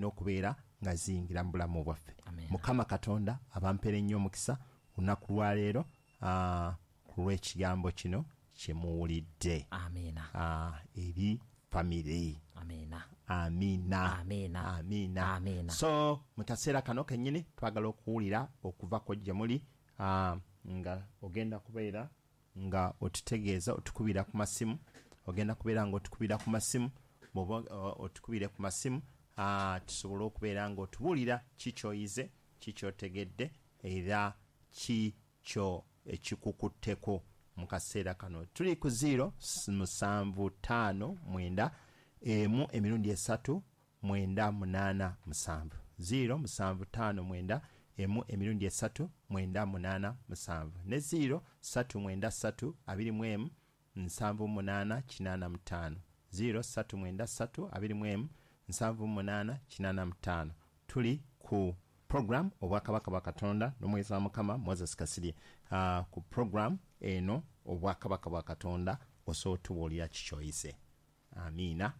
Okubeera nga ziyingira mu bulamu bwaffe. Amen. Mukama Katonda abampeere nnyo omukisa olunaku lwaleero ku lw'ekigambo kino kye muwulidde. Amiina. Eri famire. Amiina. Amiina. Amiina. Amiina. Amiina. So mu kaseera kano kennyini twagala okuwulira okuva ku gye muli nga ogenda kubeera nga otutegeeza otukubira ku masimu, ogenda kubeera nga otukubira ku masimu, bw'oba otukubire ku masimu tusobole okubeera nga otubuulira ki ky'oyize, ki ky'otegedde era ki kyo ekikukutteku mu kaseera kano. Tuli ku ziiro musanvu taano mwenda emu emirundi esatu mwenda munaana musanvu. Ziiro musanvu taano mwenda emu emirundi esatu mwenda munaana musanvu ne ziiro satu mwenda satu abiri mu emu nsanvu munaana kinaana mu taano. Ziiro satu mwenda satu abiri mu emu nsanvu munaana kinaana mu taano. Tuli ku program Obwakabaka bwa Katonda n'Omuweereza wa Mukama Moses Kasirye. Ku program eno Obwakabaka bwa Katonda osobola otubuulira ki ky'oyize. Amiina.